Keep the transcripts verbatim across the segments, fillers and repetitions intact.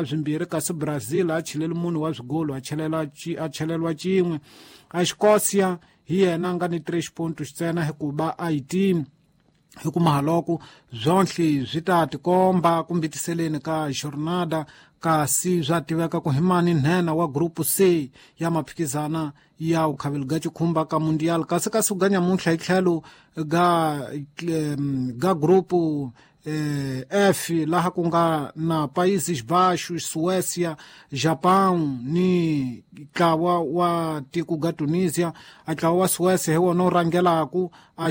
swimbirhi kasi Brazil a cheleli munhu wa swigolo a chelela a cheleliwa cin'we. A Escócia hi yena a nga ni três pontos ntsena hikuva Haiti hikumaha loko byonhle swi ta tikomba kumbitiseleni ka jornada kasi swa tiveka ku hi mani nhenha wa group C ya maphikizana ya ukhaveli ga cikhumba ka mundial kasi kasi ga nyamuntlha hi tlhelo ga ga group eh, F laha ku nga na Países Baixos, Suécia, Japão ni ntlawa wa tiko ga Tunisia. A ntlawa wa Suécia hi wona wu rhangelaku a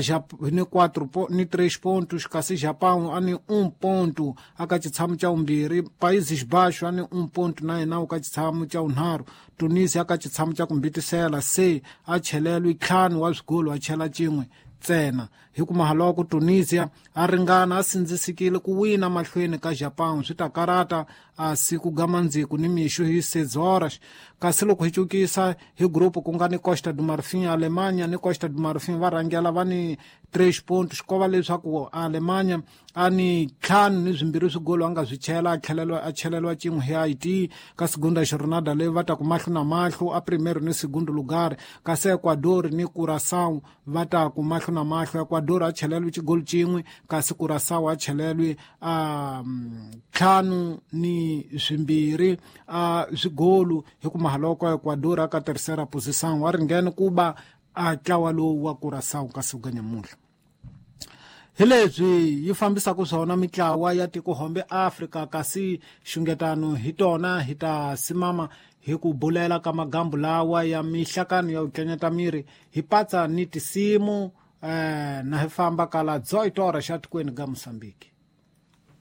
ni quatro ni três pontos kasi Japão a ni um ponto aka xitshamo xa vumbirhi, Países Baixos a ni um ponto na yena ka xitshamo xa vunharhu, Tunisia aka xitshamo xa ku mbitisela se a chelelwi ntlhanu wa swigolo a chela cin'we ntsena. Hikumaha loko Tunisia a ringana a sindzisikile ku wina mahlweni ka Japão swi ta karata a siku ga mandziku ni mixo hi seis horas. Kasi loko hi cukisa hi group ku nga ni Costa do Marfim, Alemanha ni Costa do Marfim va rhangela va ni três pontos ko va leswaku Alemanha a ni ntlhanu ni swimbirhi swigolo a nga swi chela a tlheleliwa a cheleliwa cin'we hi Haiti. Ka segunda jornada leyi va ta ku mahlo na mahlo a primeiro ni segundo lugar, kasi Ecuador ni Curaçao va ta ku mahlo na mahlo. Ecuador a cheleliwe xigolo cin'we kasi Curaçao a cheleliwe a ntlhanu ni swimbirhi a swigolo hikumaha loko Ecuador a ka terceira posição a ringene ku ba a ntlawa lowu wa Curaçao kasi ga nyamuntlha. Hi leswi yi fambisaka swona mitlawa ya tikohombe Afrika kasi xungetano hi tona hi ta simama hi ku bulela ka magambu lawa ya mihlakano ya ku tlanyeta miri hi patsa ni tisimu eh, na hi famba kala dezoito horas xa tikweni ga Mozambique.